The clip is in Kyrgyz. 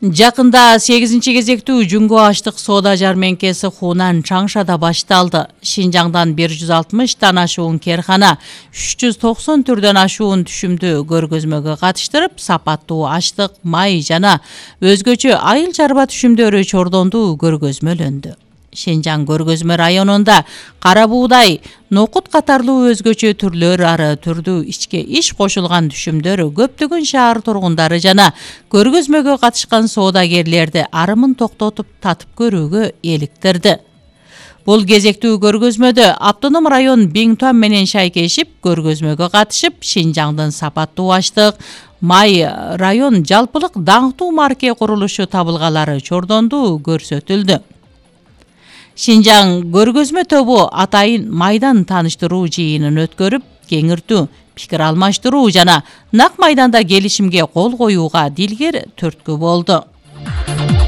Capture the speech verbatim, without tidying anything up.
Жакында сегизинчи кезектүү Жүнгө аштык соода жармеңкеси Хунан Чаңшада башталды. Шинжаңдан бир жүз алтымыштан ашуун керкана, үч жүз токсон түрдөн ашуун түшүмдү көргөзмөгө катыштырып, сапаттуу аштык, май жана өзгөчө айыл чарба түшүмдөрү чордонду көргөзмөлөндү. Шинжаң көргөзмө районунда кара буудай, нокут катарлуу өзгөчө түрлөр ары түрдүү ичке иш кошулган түшүмдөр көптөгөн шаар тургундары жана көргөзмөгө катышкан соодагерлерди арымын токтотуп татып көрүүгө эликтирди. Бул кезектүү көргөзмөдө автоном район Биңтуан менен шайкешип көргөзмөгө катышып, Шинжаңдын сапаттуу аштык, май район жалпылык даңктуу марке курулушу табылгалары чордонду көрсөтүлдү. Шинжаң көргөзмө тобу атайын майдан тааныштыруу жыйынын өткөрүп, кеңиртүү, пикир алмаштыруу жана нак майданда келишимге кол коюуга дилгер түрткү болду.